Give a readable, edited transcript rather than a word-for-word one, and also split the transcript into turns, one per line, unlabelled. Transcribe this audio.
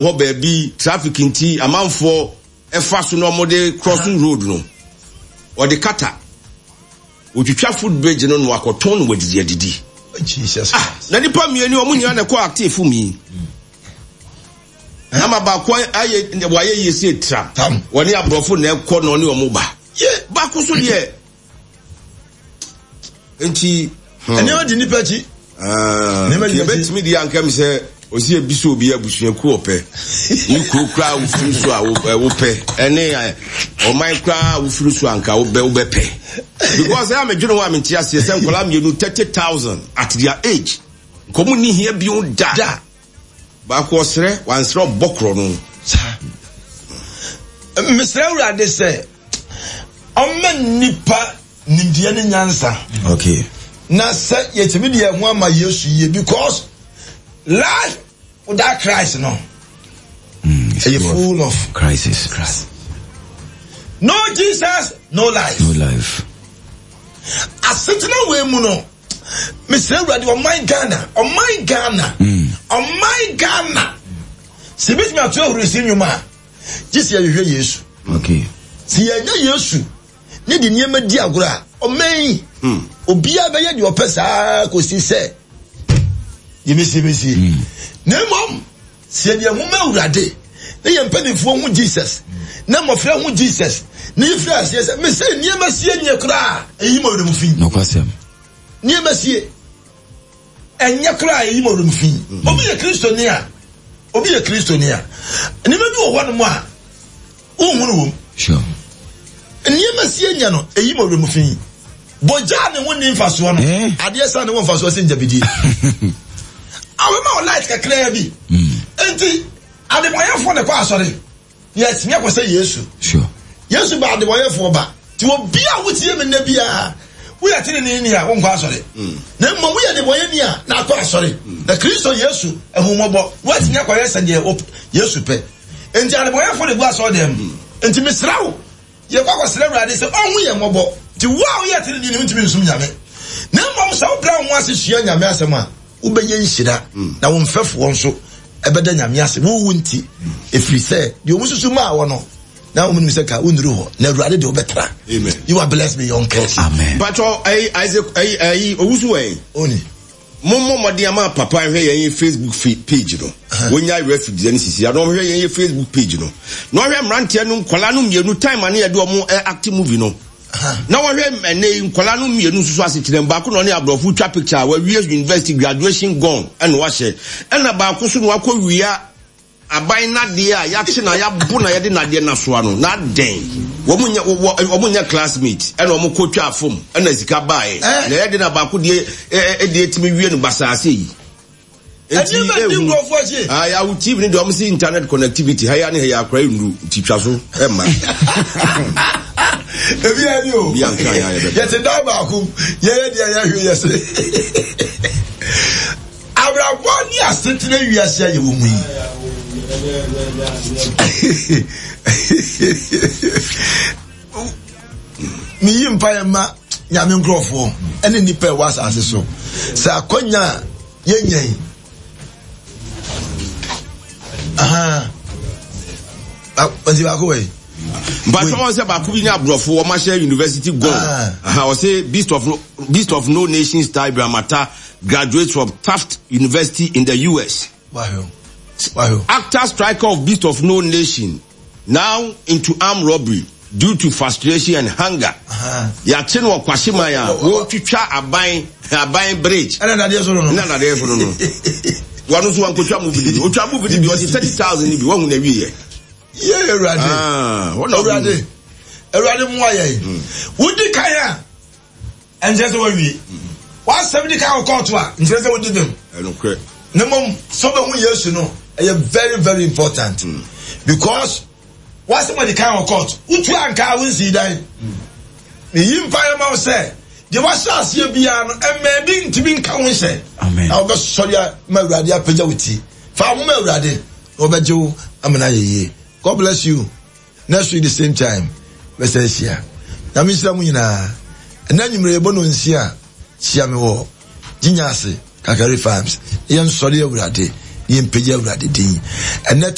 Hɔ baabi traffic nti amanfoɔ fa so na wɔde cross road no, wɔde kata. Wɔtwitwa foot bridge no na wakɔtɔn no wɔadidi adidi.
Jesus
Ah, na nipa mmienu wɔn nyinaa na ɛkɔ active mu yi. Na ma baako ayɛ wɔayɛ yie sɛ tra. Wɔne aborɔfo na ɛkɔ na ɔne wɔn ba. Baako so deɛ nti.
Hmm. Nneɛma di nipa akyi.
Ah, nneɛma di yɛbɛtumi di anka mi sɛ osi ebi so obi abusuakuo ɔpɛ ne kuro koraa wofiri so a wopɛ ɛne ɔman koraa wofiri so anka wobɛ wobɛpɛ because ɛyà mɛdwene ho a mente aseɛ sɛ nkwadaa mmienu 30,000 at their age nkɔmu ni hia bio da baako ɔsrɛ wansrɛ ɔbɔ korɔ no.
Saa mesrɛ Awurade sɛ ɔmma nnipa nimdeɛ ne nyansa.
Okay.
Na sɛ yɛtumi de yɛn ho ama Yesu yie because life without Christ no ɛyɛ full of
crisis.
No Jesus, no life.
No life.
Asetena wei mu no, mesrɛ Awurade ɔman Ghana, ɔman Ghana, ɔman Ghana. Sɛ ebetumi ato ahurisi nnwom a, gye sɛ yɛhwehwɛ Yesu.
Okay.
Sɛ yɛanya Yesu ne de nneɛma di agorɔ a, ɔman yi, hmm. obiara bɛyɛ deɛ ɔpɛ saa kɔsi sɛ yɛbɛsie bɛsie. Hmm. Na mmom, sɛ yɛde ɛho ma Awurade na yɛn mpanimfoɔ hu Jesus na mmɔfra hu Jesus na yɛfiri aseɛ sɛ mesɛ nneɛma sie nyɛ koraa ɛyi ma ɔwerɛ mu fi.
Nokwasɛm.
Nneɛma sie. Ɛnyɛ koraa a eyi ma ɔwerɛ fi. Obi yɛ Kristoni a, obi yɛ Kristoni a, nneɛma bi wɔ hɔnom a wonhu no wom.
Sure.
Nneɛma sie nyɛ no, eyi ma ɔwerɛ fi. Bɔgya a ne ho nni mfasoɔ no,
eh?
adeɛ sa ne wɔ mfasoɔ sɛ ngyabidie. Awɛma wɔ light kakraa bi. Enti, adebɔnyɛfoɔ na ɛkɔ asɔre. Yɛatumi akɔ sɛ Yesu.
Sure.
Yesu ba adebɔyɛfoɔ ba. Nti obi a wotie me nnɛ biara, woyɛ teneneeni a wonkɔ asɔre. Na mmom woyɛ debɔyɛni a na akɔ asɔre. Na Kristo Yesu ahummɔbɔ, woatumi akɔyɛ sɛdeɛ Yesu pɛ. Nti adebɔyɛfoɔ na ɛgu asɔre dɛm. Nti mesrɛ wo, Yɛkɔ akɔsrɛ Awurade sɛ ɔnhu yɛn mmɔbɔ. Nti wo a woyɛ teneneeni wontumi nsom Nyame. Na mmom sɛ wobrɛ wo ho ase sua Nyame asɛm a, wobɛyɛ nhyira, na wo mfɛfoɔ nso bɛda Nyame ase wo wo nti, ɛfiri sɛ deɛ wɔn susu maa wɔ no, na wɔn nim sɛ ka wonnuru hɔ, na Awurade de wobɛtra.
Amen.
You are blessed beyond curse.
Amen.
Patro, ɛyi Isaac, ɛyi ɛyi owusu wɔ yi.
Oni.
Mo mmɔ mmɔden ama papa nhwɛ yɛn yɛ Facebook page no. Wonya refugees ne sisi ano ɔhwɛ yɛn yɛ Facebook page no. Na ɔhwɛ mmeranteɛ no nkwadaa no mmienu time ano yɛde wɔn act movie no. Na wɔhwɛ ɛnɛ yi nkwadaa no mmienu nso so asekyerɛ baako na ɔne aborɔfo twa picture a wawie university graduation gone ɛna wahyɛ ɛna baako so na wakɔ wia Aban nnadeɛ a yɛakye na yɛabo na yɛde nnadeɛ no asoa no, na adɛn? Wɔn nyɛ wɔ wɔn nyɛ classmate ɛna wɔn kɔ twaa fam ɛna sika baeɛ.
Eh?
Na ɛyɛ de na baako deɛ ɛ ɛ deɛ tumi wie no basaa sɛ yi. Enti
Ɛdeɛ bɛ di
ehu.
nkurɔfoɔ akyi.
Ah, yawo TV ne deɛ wɔn si internet connectivity ha ya ne ha ya akora nnuru nti twa so ɛma.
Ebi yɛ ni o.
Bi anka ya yɛ bɛ.
Yɛte dan baako mu, yɛyɛ deɛ yɛhwe yɛ se. Abrabɔ ne asetena wiase a yɛwɔ mu yi. Meyi mpaeɛ ma Nyame nkurɔfoɔ ne nnipa ɛwɔ asase so sɛ akwanya a yɛnya yi. Nti baako wɔ yi.
Mpatwa wɔn sɛ baako bi ne aborɔfo wɔn ahyɛ university gone. Ah. Ɔsɛ beast of no nation style Ibrahim Atta graduates from Tufts University in the US.
Wahwɛ wahwɛ.
Actor striker of Beast of No Nation now into armed robbery due to frustration and hunger. Yɛakye no wɔ Kwahyeman a wɔretwitwa aban aban bridge.
Ɛna nadeɛ so no no.
Ɛna nadeɛ so no no. Wɔn nso wɔnkotwa movie no bi. Otwa movie no bi ɔde 30,000 no bi wɔn hu na wie yɛ.
Yɛ Awurade.
Ah,
Awurade. Awurade mmoa yɛn. Wodi kan a. Ɛnkyerɛ sɛ woawie. W'asɛm di kan wɔ kɔɔto a, nkyerɛ sɛ wodi bem.
Ɛnokorɛ.
Na mmom sɛ wobɛhu Yesu no, ɛyɛ very very important. Mm. Because w'asɛm adi kan wɔ kɔɔto. Wotu anka a wonsii dan. Mm. Meyi mpaeɛ ma wo sɛ deɛ wahyɛ aseɛ biara no mmaa bi ntumi nka wo nhyɛ. Na wobɛsɔre ma Awurade apagya wo ti. Fa wo ho ma Awurade na ɔbɛgye wo amena ayɛ yie. God bless you. Next week the same time bɛsan ahyia. Nyame nhyira mo nyinaa. Ɛnɛ anwummerɛ yɛbɔ no nsia a, hyia me wɔ Ginya ase, Kakari Farms. Na yɛnsɔre Awurade, na yɛmpagya Awurade din. Ɛnɛ